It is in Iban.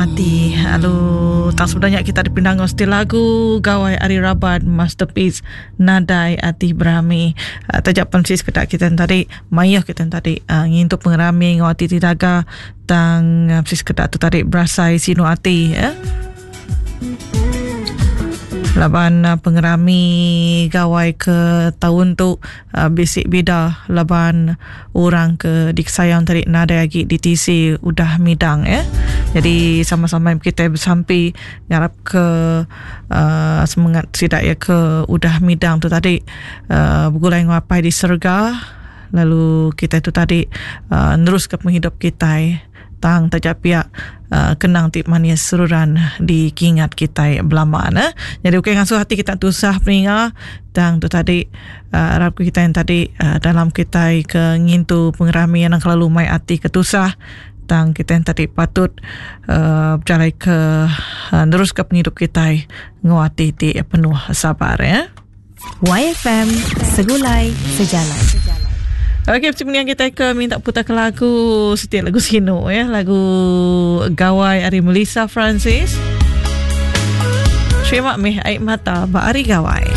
Ati lalu tang sebedau nya kita dipindah enggau siti lagu Gawai Ari Raban Masterpiece Nadai Ati Berami. Uh, taja pen sik sekeda kita tadi mayuh kita tadi uh, ngintu pengerami enggau ati ti daga tang uh, sik sekeda tu tadi berasai sinu ati ya. Laban uh, pengerami gawai ke taun tu uh, bisi bida laban orang ke dikesayang tadi nadai agi ditisi udah midang ya. Jadi sama-sama kita besampi ngarap ke uh, semangat sida ya ke udah midang tu tadi uh, begulai enggau apai di serega lalu kita tu tadi uh, nerus ke penghidup kita Tang taja pia kenang ti manis seruran dikingat kitai belama ne. Nyadi ukai ngasuh ati kita tusah peninga tang tu tadi arap ke kitai tadi dalam kitai ke ngintu pengerami anang kelalu mai ati ke tusah tang kitai tadi patut bejalai ke nerus ke pengidup kitai enggau ati ti penuh sabar ya. YFM Segulai Sejalai. Okey, macam ni kita ke minta putar ke lagu setiap lagu sinu ya, lagu Gawai ari Melissa Francis. Terima meh air mata ba ari Gawai.